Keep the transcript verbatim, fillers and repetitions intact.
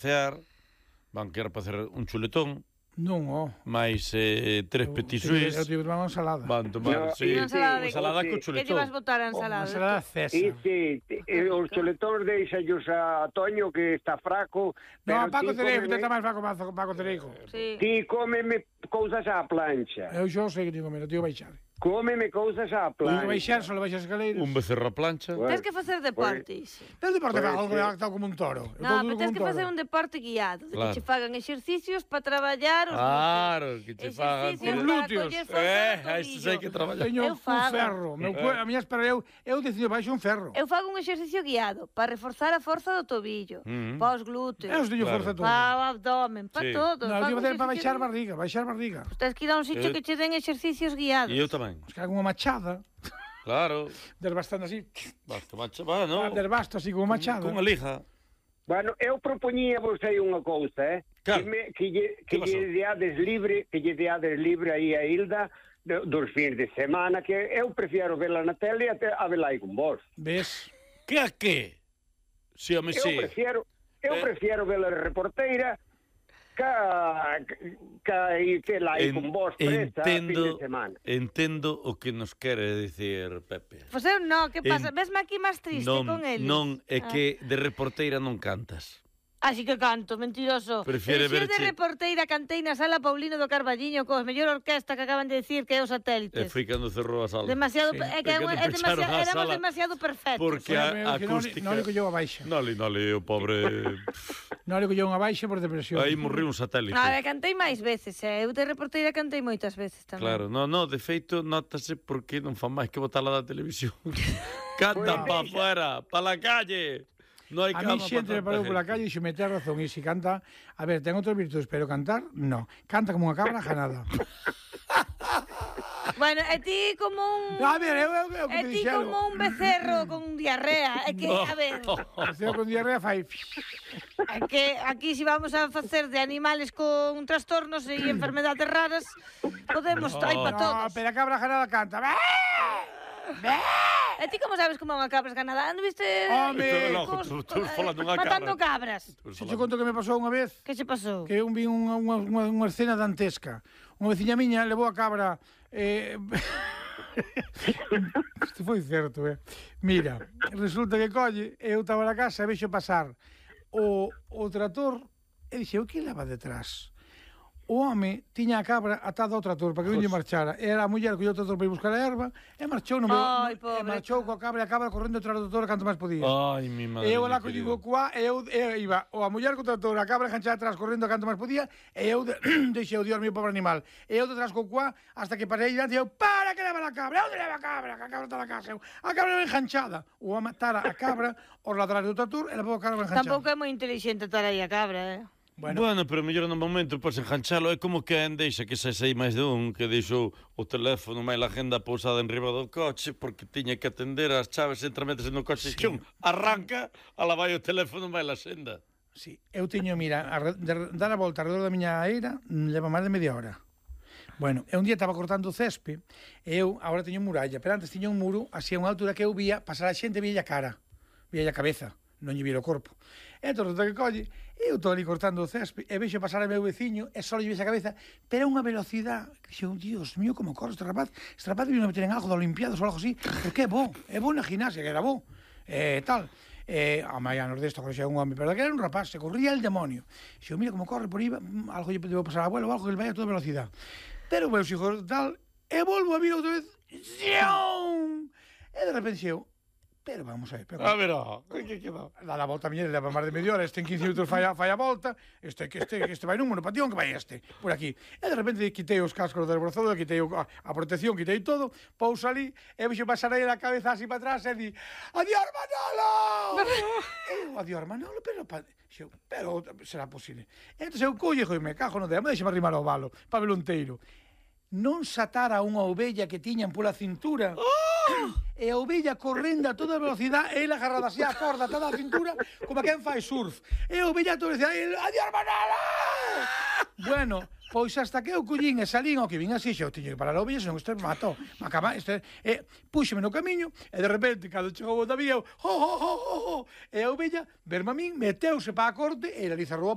cear, van querer para hacer un chuletón. Non, ó. Mais eh, tres petit suís. Eu tive tomar unha ensalada. Van tomar, No, sí. Unha ensalada Unha ensalada co que chuletón. Que lle vas botar a Unha ensalada? ensalada Sí, César. sí, eh, os chuletóns deixallos a Toño que está fraco. No, a pero Paco ti Cereijo, cómeme- tenta máis Paco, Paco, Paco Cereijo. Sí. Ti cómeme cousas á plancha. Eu xo sei que digo, mira, tío baixar. Cómeme cousas á Digo plancha. baixar, só le baixas escaleiras. Un becerro a plancha. Bueno, Tens que facer deporte, ixe. Pero deporte Pues, fa algo sí. redactado como un toro. Eu No, todo pero tens como que facer toro. un deporte guiado, de Claro. que che fagan exercicios para traballar os Claro, que che fagan exercicios Os para glúteos. coller forza Eh, no a isto tobillo. hai que traballar. Teño Eu un fago. ferro. Meu cu... A miña espera, eu, eu decido baixo un ferro. Eu fago un exercicio guiado para reforzar a forza do tobillo, Mm. para os glúteos, Eu teño Claro. forza todo. para o abdomen, para Sí. todo. Non, Fago eu facer para exercicios baixar guiados. barriga, baixar barriga. Pois tens que ir a un sitio Eu- que che den exercicios guiados. E eu tamén. Os que hago unha machada, Claro. desbastando así, Basta, macho, va, no. desbasto así como machada. Cunha lija. Bueno, eu propoñía vos aí unha cousa, eh? Cal? Que, me, que, lle, Que que pasou? lle deades libre, que lle deades libre aí a Hilda do- dos fins de semana, que eu prefiero vela na tele até a vela aí con vos. Ves? Que a que? Si, home, Eu si. prefiero, eu Eh. prefiero vela reporteira ca ca e que la aí con vos presta fin de Entendo, semana. entendo o que nos quere dicir Pepe. Pois eu non, que pasa? En- Vesme aquí máis triste Non, con eles. non, é Ah. que de reporteira non cantas. Así que canto, mentiroso. Prefiere Pero si eu verche- de reporteira cantei na sala Paulino do Carballiño cos mellor orquesta que acaban de decir que é os E satélites. foi cando cerrou a sala. Demasiado, Sí. é que é, Foi cando é pecharon demasiado, a éramos sala. demasiado perfectos. Porque a, a acústica... Non que yo a baixa. Noli, noli, o pobre... Non que yo unha baixa por depresión. Aí morriu un satélite. No, eu cantei máis veces, eh. eu de reporteira cantei moitas veces tamén. Claro, no, no, de feito, notase porque non fan máis que botala da televisión. Canta pa afuera, pa la calle. No hai A cama mí xente me pa parou tanta pola gente. calle e xe me ten razón. E se canta... A ver, ten outras virtudes, pero cantar, no. Canta como unha cabra, janada. Bueno, e ti como un... A ver, eu, eu, eu, E que me ti dixeron. como un becerro con diarrea. É que, a ver, O ceo con diarrea fai... é que aquí si vamos a facer de animales con trastornos e enfermedades raras, podemos, hai pa No, todos. pero a cabra janada canta. Bé! Bé! E ti como sabes como é unha cabra esganada? Non viste... Home, eh, logo, cos- tú- tú falando dunha matando cabra. cabras. Se che conto que me pasou unha vez, Que se pasou? que eu vi unha, unha, unha, unha escena dantesca. Unha veciña miña levou a cabra... Eh... Isto foi certo, eh? Mira, resulta que colle, eu estaba na casa e vexo pasar o, o trator e dixe, o que leva detrás? O home tiña a cabra atada ao trator para que non lle marchara. E era a muller que o trator para ir buscar a erva e marchou, no meu, Ai, e pobre marchou coa cabra e a cabra correndo detrás do trator canto máis podía. Ai, mi madre. E eu mía lá que querida. digo cuá, e eu, eu iba o a muller co trator, a cabra enganchada atrás correndo canto máis podía, e eu de, deixei o Dios mío pobre animal. E eu detrás co cuá hasta que parei diante e eu, para que leva a cabra, onde leva a cabra? Que a cabra está na casa. Eu, a cabra é enganchada. O a matar a cabra, os ladrar do trator, e levou a cabra enganchada. Tampouco é moi inteligente estar aí a cabra, eh? Bueno, Bueno, pero mellor no momento podes enganchalo. É como que en deixa que se sei máis de un que deixou o teléfono máis a agenda pousada en riba do coche porque tiña que atender as chaves entre metes no coche. Sí. Chum, arranca, ala vai o teléfono máis a senda. sí, eu teño, mira, a, re- de, dar a volta alrededor da miña eira, mm, leva máis de media hora. Bueno, e un día estaba cortando o césped, e eu agora teño muralla, pero antes tiña un muro así a unha altura que eu vía pasar a xente, vía a cara, vía a cabeza, non lle vira o corpo. E entón, resulta que colle, eu estou ali cortando o césped, e vexo pasar a meu veciño, e só lle vexo a cabeza, pero a unha velocidade, que xo, Dios mío, como corre este rapaz, este rapaz vino a meter en algo de Olimpiadas ou algo así, porque é bo, é bo na gimnasia, que era bo, e tal. Eh, a maianos desto, que xa é un home, pero que era un rapaz, se corría el demonio. Xo, mira como corre por aí, mm, algo lle debo pasar a abuelo, algo que ele vai a toda velocidade. Pero meus hijos tal, e volvo a vir outra vez, ¡zion! E de repente xeo, pero vamos a ver, pero A ver, ó, que queda? dá a volta a miña, leva máis de media hora, este en quince minutos fai a, fai a volta, este, que este, este vai nun monopatión, que vai este, por aquí. E de repente quitei os cascos do desbrozador, quitei o, a, a protección, quitei todo, pouso ali, e vexo pasar aí a cabeza así para atrás, e di, adiós Manolo! E eu, adiós Manolo, pero, pa, xo, pero será posible. E entón eu collo e me cajo no demo, deixame arrimar ao valo, para velo inteiro. Non satara unha ovella que tiñan pola cintura, e a ovella correndo a toda velocidade, ela agarrada así a corda toda a cintura, como quen fai surf. E a ovella todo decía, adiós Manolo! Bueno, pois hasta que eu collín e salín ao que vin así, xa, eu tiño que parar a ovella, senón este me matou. Me acaba, este, e púxeme no camiño, e de repente, cando chegou o David, eu, ho, ho, ho, ho, ho, e a ovella, verme a min, meteuse para a corte, e ela ali cerrou a